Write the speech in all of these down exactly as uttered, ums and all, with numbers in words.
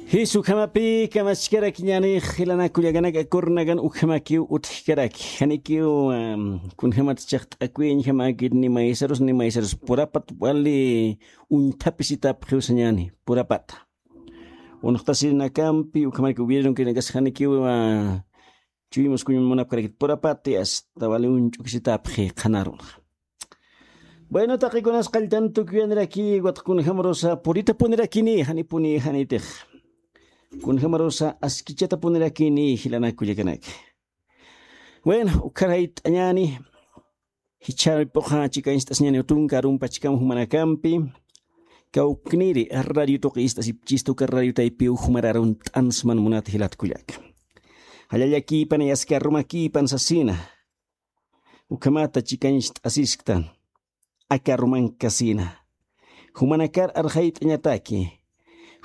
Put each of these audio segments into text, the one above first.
Jis ukhamapi kamachkarakiñäni, jilanaka kullakanaka, kurnakan ukhamakiw utjkaraki. Janikiw, am, kunjamat chaqt'akuyañjamäkit ni maysarus ni maysarus, purapat wali uñthapisitapxiw sañäni, purapata. Unxtasirinakampi ukhamaraki gobiernonkinakas janikiw, a, chuymus kuñun munapkarakit, purapati asta wali uñch'ukisitapxi qhanarunxa. Bueno, taqikunas qalltan tukuyaniraki, ukat kunjamarusa puritapunirakinï, janipuni janitix. Kunjamarusa askichatapunirakinï, jilanaka kullakanaka. Bueno, ukhar jayt'añäni, jichhapxi chikañcht'asiñäni tunka arumpachkam jumanakampi, kawkniri radio tuqi ist'asipchista, uka radio taypiw jumar arunt'ansman munat jilat kullaka. Jallallakïpanay, aski arumakïpan sasina. Ukhamata chikañcht'asisktan, aka arumankasina. Jumanakar arxayt'añataki,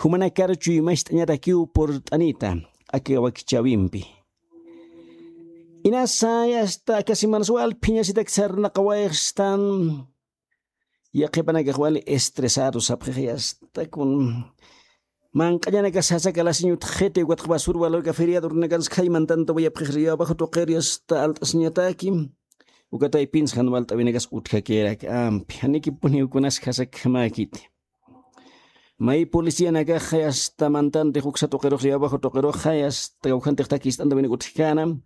jumanakar chuymacht'añatakiw purt'anita aka wakichäwimpi. Inasa, yasta, aka semanas wal phiñasitak sarnaqawayxstan, yaqhipanakax wali estresado sapxix, yasta, kun manq'añanakas sasaka lasiñ utjxiti, ukatxa basur walawika feriado urnakansa khayman tantawayapxix, río abajo tuqiri asta alt'asiñataki. Uka taypinsa jan walt'awinakas utjakirak ampi, janikipuniw kunas jasakjamäkiti. May policianakaxa yasta mantantix uksa tuqirux, río abajo tuqirux, yasta kawkhantix takist'antawinak utjkänam.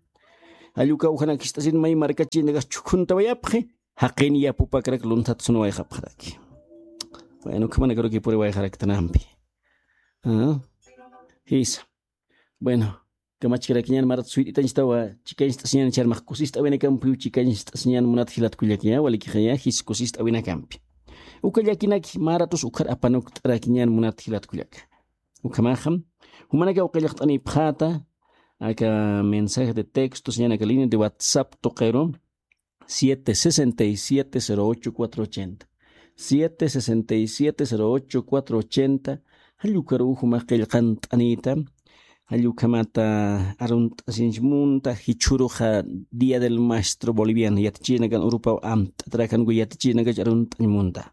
Jall uka kawkhanak jist'asin may markachinakax chhukhuntawayapxi, jaqin yapupakrak lunthat sunwayxapxaraki. Bueno, ukhamanakaruki puriwayxaraktanampi. Ah, jisa. Bueno, kamachkarakiñän marat suyt'itañchtawa, chikañcht'asiñän, charmax kusist'awinakampiw chikañcht'asiñän munat jilat kullaka, walikixaya, jis kusist'awinakampi. Uka llakinaki maratus ukhar apanukt'arakiñän munat jilat kullaka. Ukhamaxa, jumanakaw qillqt'anipxäta, aka mensaje de texto, sañän aka línea de WhatsApp tuqiru, siete sesenta y siete cero ocho cuatro ochenta. Siete sesenta y siete cero ocho cuatro ochenta. Jall ukaruw jumax qillqant'anita. Jall ukhamata arunt'asiñ munta, jichhüruxa Día del Maestro Boliviano, yatichirinakan urupaw amt'atarakan uka yatichirinakach arunt'añ munta.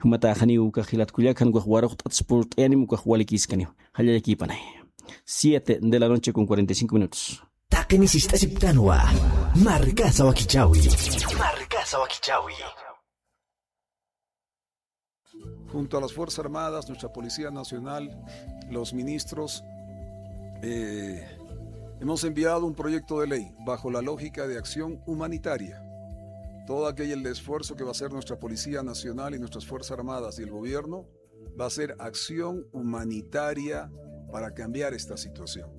Jumataxaniw ukax jilat kullaka, jan ukax waruxt'atas purt'ayanim, ukax walikiskaniw. Jallallakïpanay. Siete de la noche con cuarenta y cinco minutos. Taqini sist'asiptanwa. Markasa wakichäwi. Markasa wakichäwi. Junto a las Fuerzas Armadas, nuestra Policía Nacional, los ministros, eh, hemos enviado un proyecto de ley bajo la lógica de acción humanitaria. Todo aquel esfuerzo que va a hacer nuestra Policía Nacional y nuestras Fuerzas Armadas y el gobierno va a ser acción humanitaria para cambiar esta situación.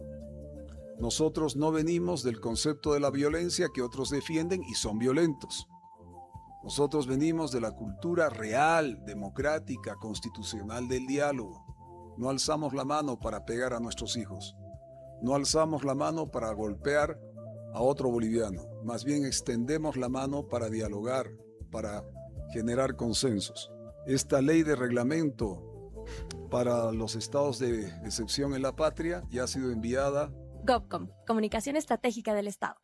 Nosotros no venimos del concepto de la violencia que otros defienden y son violentos. Nosotros venimos de la cultura real, democrática, constitucional del diálogo. No alzamos la mano para pegar a nuestros hijos. No alzamos la mano para golpear a otro boliviano. Más bien extendemos la mano para dialogar, para generar consensos. Esta ley de reglamento para los estados de excepción en la patria ya ha sido enviada. GovCom, Comunicación Estratégica del Estado.